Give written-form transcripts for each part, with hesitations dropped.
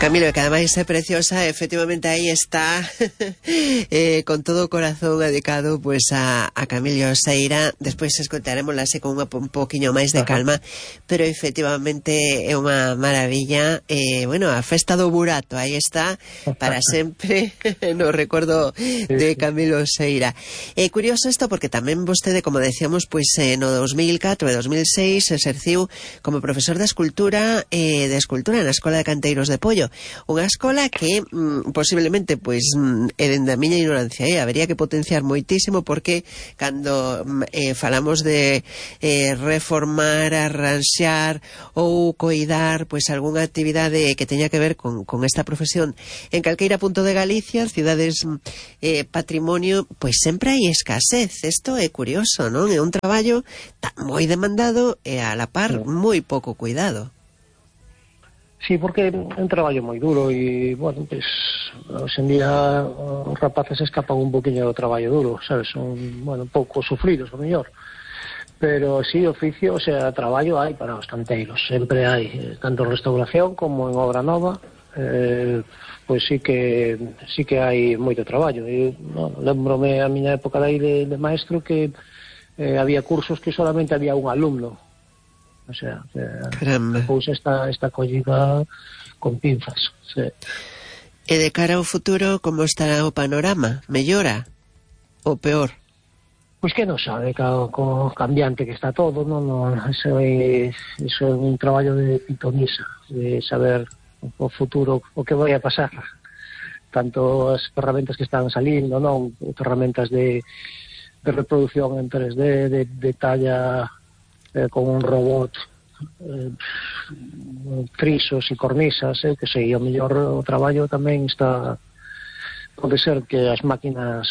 Camilo, que ademais é preciosa, efectivamente aí está con todo o corazón dedicado pues a Camilo Seira. Despois escoitaremosla con un poquinho máis de calma, pero efectivamente é unha maravilla. Bueno, a festa do burato, aí está para sempre no recordo de Camilo Seira. É curioso isto porque tamén vostede, como decíamos, pues no 2004 e 2006 exerciu como profesor de escultura na Escola de Canteiros de Pollo. Unha escola que posiblemente pois dende a miña ignorancia habería que potenciar moitísimo, porque cando falamos de reformar, arranxar ou coidar pois algunha actividade que teña que ver con esta profesión en calqueira punto de Galicia, cidades patrimonio, pois sempre hai escasez. Isto é curioso, non? É un traballo moi demandado e a la par moi pouco cuidado. Sí, porque é un traballo moi duro e, bueno, pues, hoxe en día os rapaces escapan un poquinho do traballo duro, sabes, son, bueno, un pouco sufridos, o mellor. Pero sí, oficio, o sea, traballo hai para os canteiros, sempre hai, tanto en restauración como en obra nova, pois sí que hai moito traballo. E, bueno, lembrome a miña época de maestro que había cursos que solamente había un alumno. O sea, a cousa está collida con pinzas. Sí. E de cara ao futuro, como estará o panorama? Mellora ou peor? Pois que non sabe, co cambiante que está todo, non, eso é un traballo de pitonisa, de saber o futuro, o que vai a pasar. Tanto as ferramentas que están salindo, non, ferramentas de reproducción en 3D, de talla con un robot, frisos e cornisas, que sei, o mellor o traballo tamén está, pode ser que as máquinas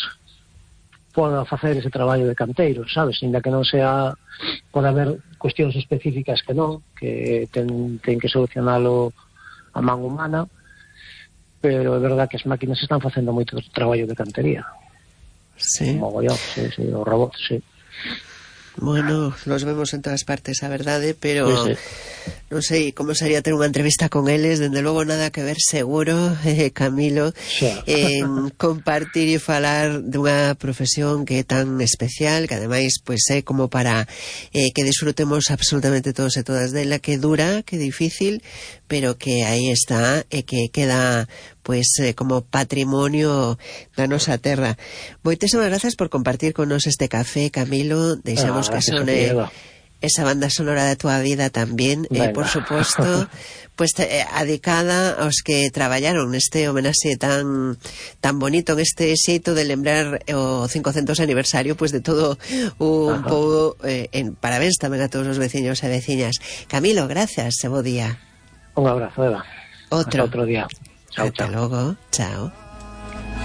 podan facer ese traballo de canteiro, sabes, ainda que non sea, pode haber cuestións específicas que non, que ten que solucionalo a man humana, pero é verdad que as máquinas están facendo moito traballo de cantería. Sí. O mogollón, sí, o robot, sí. Bueno, los vemos en todas partes, a verdade, pero non sei como sería ter unha entrevista con eles, dende logo nada que ver seguro, Camilo, en compartir e falar dunha profesión que é tan especial, que ademais pois é como para que disfrutemos absolutamente todos e todas dela, que dura, que difícil, pero que aí está e que queda pois como patrimonio da nosa terra. Moitísimas grazas por compartir con nos este café, Camilo. Deixamos que sone esa banda sonora da tua vida tamén, por suposto, pues adicada aos que traballaron neste homenaxe tan bonito, en este xeito de lembrar o 500 aniversario pues de todo un pouco, parabéns tamén a todos os veciños e veciñas. Camilo, gracias, e bo día. Un abrazo, Eva. Outro día. Chao, Hasta chao. logo, chao.